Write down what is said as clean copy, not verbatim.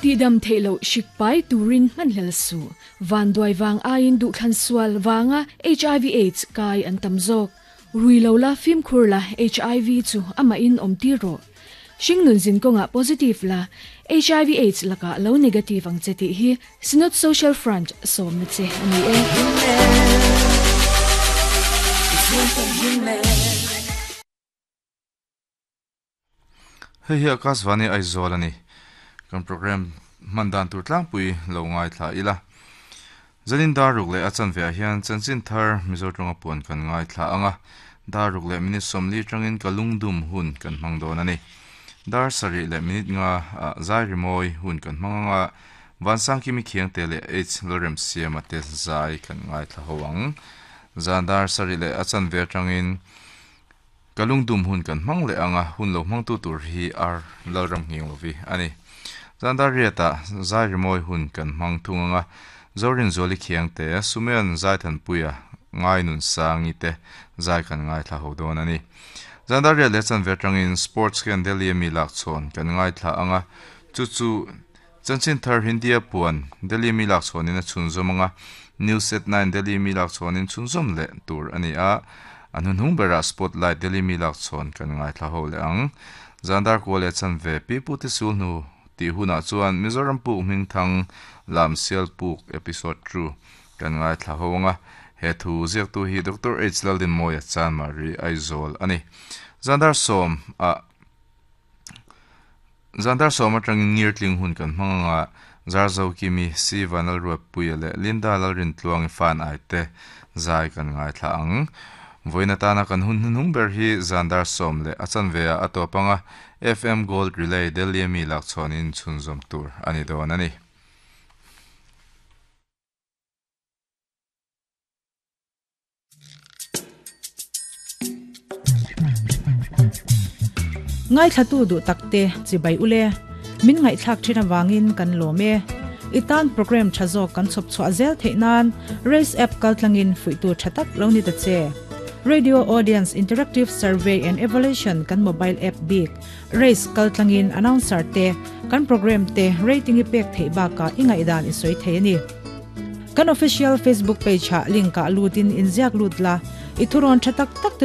Tihdam theih loh hrik pai turin hmanhlel suh. Vanduai vang aiin duhthlan sual vanga hiv aids kai an tam zawk. Rui lo la, fimkhur la, hiv chu amahin awm tir rawh. Hringnun zin kawngah positive la, hiv aids lakah lo negative ang che tih hi Synod Social Front sawmna che a ni e. Hei hi Akashvani Aizawl a ni. Kan program hman dan tur tlangpui lo ngaithla ila. Zanin dar ruk leh a chanve ah hian chanchin thar Mizo tawnga puan kan ngaithla ang a, dar ruk leh minute 40 atangin ka lungdum hun kan hmang dawn a ni. Dar sarih leh minute nga ah zai rimawi hun kan hmang ang a, Vansangkimi Khiangte leh H Lalremsiama te zai kan ngaithla ho ang. Zan dar sarih leh a chanve atangin Ka lungdum hun kan hmang leh ang a, hun lo hmangtu tur hi ar Lalram nghing lovi a ni. Zandar riatah zai rimawi hun kan hmang thung ang a, Zorinzuali Khiangte, Sumeon Zaithanpuia, Ngainunsangi te zai kan ngaithla ho dawn a ni. Zandar riat leh chanve atangin Sports hian Delhi ami lakchhawn kan ngaithla ang a, chu chu Chanchin thar Hindia puan Delhi mi lakchhawnin a chhunzawm ang a, News at Nine Delhi mi lakchhawnin chhunzawm leh tur a ni a, a hnuhnung berah Spotlight Delhi mi lakchhawn kan ngaithla ho leh ang. Zandar kua leh chanve Pi Pu te sul hnu tih hunah chuan Mizoram puk hmingthang Lam Sial Puk Episode 2 kan ngaithla ho ang a, he thu ziaktu hi Doctor H Laldinmawia Chanmari Aizawl a ni. Zandar sawm ah. Zandar sawm atangin ngirtling hun kan hmang anga Zarzo Kimi, Siva Lalruatpuia leh Linda Lalrintluangi fan ai te zai kan ngaithla ang. Vawiin atana kan hun hnuhnung ber hi Zandar sawm leh a chanve ah a tawp anga FM Gold Relay Delhi ami lakchhawnin chhunzawm tur a ni dawn a ni. Ngaithlatu duh takte chibai ule, min ngaihthlak thin avangin kan lawm e. I tan program tha zawk kan chhawp chhuah zel theih nan Race app kaltlangin fuihtu tha tak lo ni ta che. Radio Audience Interactive Survey and Evaluation kan mobile app bik Race kaltlangin announcer te kan program te rating i pek theih bakah i ngaihdan i sawi thei a ni. Kan official Facebook page ah link ah lutin inziak lut la, i thurawn tha tak tak te.